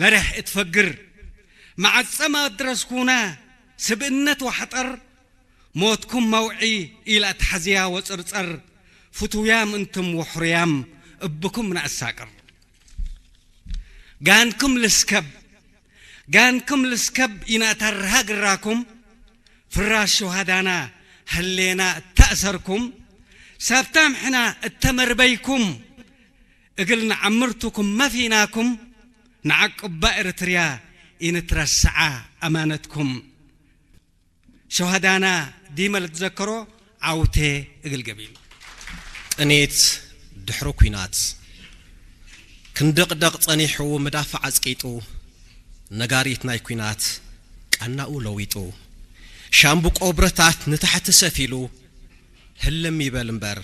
ለሬሕ እትፈግር መዓጸማ ኣድረስኩና ስብእነት ዋሕጠር ሞትኩም መውዒ ኢላ ትሓዝያ ወጽርጸር ፍቱያም እንትም ወሕሩያም እብኩም ንኣሳቅር ጋንኩም ልስከብ ጋንኩም ልስከብ ኢናተርሃ ግራኩም ፍራሽ ሸሃዳና ህሌና እተእሰርኩም ሳብታም ሕና እተመርበይኩም እግል ንዓምርትኩም መፊናኩም ንዓቅባ ኤርትርያ ኢንትረስዓ ኣማነትኩም ሸሃዳና ዲመ ልትዘከሮ ዓውቴ እግል ገቢሉ። ቅኔት ድሕሪ ኲናት ክንድቕደቕ ጸኒሑ ምዳፍ ዓጽቂጡ ነጋሪት ናይ ኲናት ቃናኡ ለዊጡ ሻምብቆ ብረታት ንታሕቲ ሰፊሉ ህልም ይበል እምበር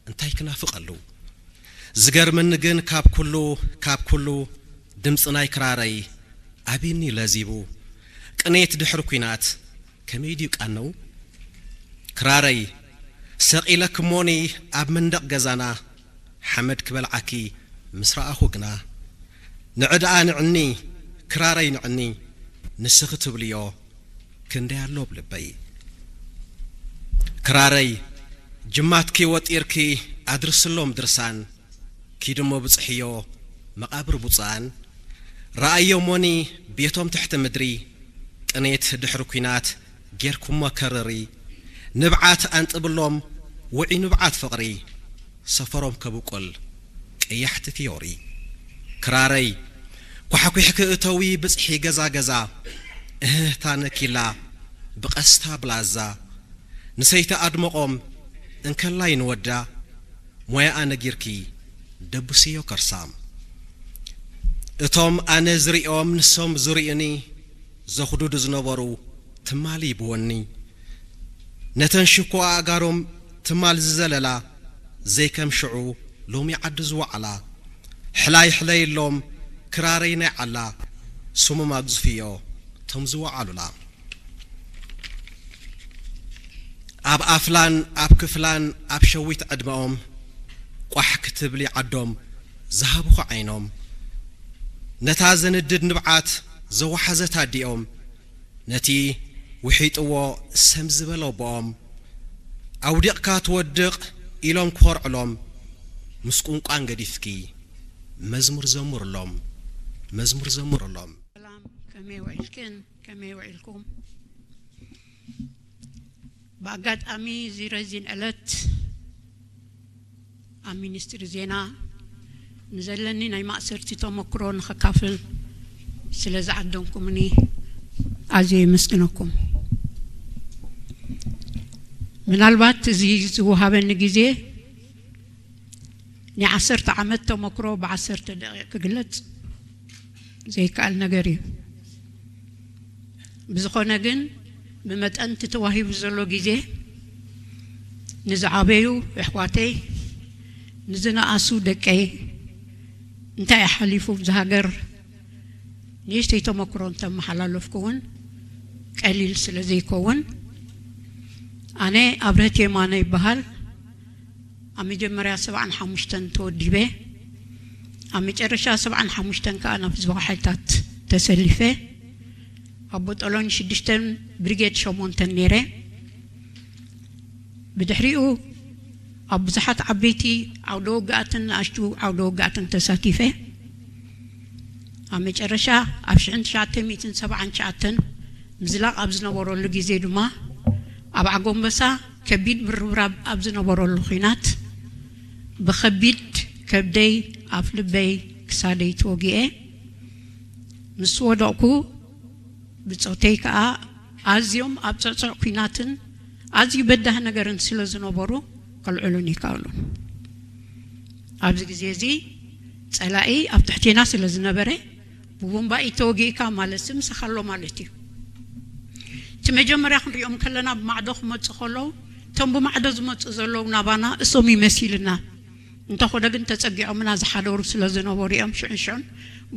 እንታይ ክናፍቐሉ ዝገርመኒ ግን ካብ ኩሉ ካብ ኩሉ ድምፂ ናይ ክራረይ ኣቢኒ ለዚቡ ቅኔት ድሕሪ ኲናት ከመይ ድዩ ቃነው ክራረይ ሰቒለክሞኒ ኣብ መንደቕ ገዛና ሓመድ ክበልዓኪ ምስ ረኣኹ ግና ንዕድኣ ንዕኒ ክራረይ ንዕኒ ንስኺ ትብልዮ ክንደይ ኣሎ ኣብ ልበይ ክራረይ ጅማትኪ ወጢርኪ ኣድርስሎም ድርሳን ኪድሞ ብጽሕዮ መቓብር ብፁዓን ረኣዮ ሞኒ ቤቶም ትሕቲ ምድሪ ቅኔት ድሕሪ ኲናት ጌርኩሞ ከርሪ ንብዓት ኣንጥብሎም ውዒ ንብዓት ፍቕሪ ሰፈሮም ከብቁል ቀያሕቲ ፊዮሪ ክራረይ ኳሕኲሕኪ እተዊ ብጽሒ ገዛ ገዛ እህህታ ነኪላ ብቐስታ ብላዛ ንሰይቲ ኣድመቖም እንከላይ ንወዳ ሞያኣ ነጊርኪ ደብስዮ ከርሳ እቶም ኣነ ዝሪኦም ንሶም ዝሪእኒ ዘኹዱዱ ዝነበሩ ትማሊ ብወኒ ነተን ሽኮ ኣእጋሮም ትማል ዝዘለላ ዘይከም ሽዑ ሎሚ ዓዲ ዝወዓላ ሕላይ ሕለይሎም ክራረይ ናይ ዓላ ስሞም ኣግዝፍዮ ቶም ዝወዓሉላ ኣብ ኣፍላን ኣብ ክፍላን ኣብ ሸዊት ዕድመኦም ቋሕ ክትብሊ ዓዶም ዝሃብኹ ዓይኖም ነታ ዘንድድ ንብዓት ዘወሓዘት ኣዲኦም ነቲ ውሒጥዎ ሰም ዝበሎ ኣቦኦም ኣውዲቕካ ትወድቕ ኢሎም ክኾርዕሎም ምስ ቁንቋን ገዲፍኪ መዝሙር ዘምርሎም መዝሙር ዘምርሎም ሰላም ከመይ ውዒልክን ከመይ ውዒልኩም ብኣጋጣሚ እዚ ረዚን ዕለት ኣብ ሚኒስትሪ ዜና ንዘለኒ ናይ ማእሰርቲ ተመክሮ ንኸካፍል ስለ ዝዓደምኩምኒ ኣዝየ የመስግነኩም። ምናልባት እዚ ዝወሃበኒ ግዜ ናይ ዓሰርተ ዓመት ተመክሮ ብዓሰርተ ደቂቕ ክግለጽ ዘይከኣል ነገር እዩ። ብዝኾነ ግን ብመጠን እቲ ተዋሂቡ ዘሎ ግዜ ንዝዓበዩ ኣሕዋተይ ንዝነኣሱ ደቀይ እንታይ እዩ ሓሊፉ ኣብዚ ሃገር ንእሽተይ ተመክሮ እንተመሓላለፍኩ እውን ቀሊል ስለ ዘይከውን ኣነ ኣብርህት የማነ ይበሃል ኣብ መጀመርያ ሰብዓን ሓሙሽተን ተወዲበ ኣብ መጨረሻ ሰብዓን ሓሙሽተን ከዓ ናብ ህዝባዊ ሓይልታት ተሰሊፈ ኣብ ቦጦሎኒ ሽዱሽተን ብሪጌድ ሸሞንተን ነይረ። ብድሕሪኡ ኣብ ብዙሓት ዓበይቲ ዓውደ ውግኣትን ንኣሽቱ ዓውደ ውግኣትን ተሳቲፈ። ኣብ መጨረሻ ኣብ ሽሕን ትሽዓተ ሚእትን ሰብዓን ትሽዓተን ምዝላቕ ኣብ ዝነበረሉ ግዜ ድማ ኣብ ዓጎንበሳ ከቢድ ምርብራብ ኣብ ዝነበረሉ ኹናት ብኸቢድ ከብደይ ኣፍ ልበይ ክሳደይ ተወጊኤ ምስ ወደቕኩ ብጾተይ ከኣ ኣዝዮም ኣብ ጽዕጹዕ ኲናትን ኣዝዩ በዳህ ነገርን ስለ ዝነበሩ ከልዕሉን ይከኣሉን። ኣብዚ ግዜ እዚ ጸላኢ ኣብ ትሕቴና ስለ ዝነበረ ብቡምባኢ ተወጊእካ ማለት ምሳኻ ኣሎ ማለት እዩ። እቲ መጀመርያ ክንሪኦም ከለና ብማዕዶ ክመጹ ከለዉ እቶም ብማዕዶ ዝመጹ ዘለዉ ናባና እሶም ይመሲልና እንተኾነ ግን ተጸጊዖምና ዝሓደሩ ስለ ዝነበሩ እዮም ሽዑን ሽዑን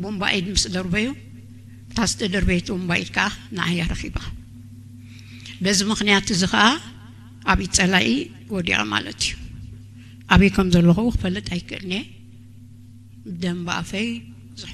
ቡምባ ኢድ ምስ ደርበዩ እታ ዝተደርበየት ቡምባ ኢድ ከኣ ንዓያ ረኺባ በዚ ምኽንያት እዚ ከኣ ኣብ ኢድ ጸላኢ ወዲቐ ማለት እዩ ኣበይ ከም ዘለኹ ክፈልጥ ኣይክእልን እየ ደም ብኣፈይ ብዙሕ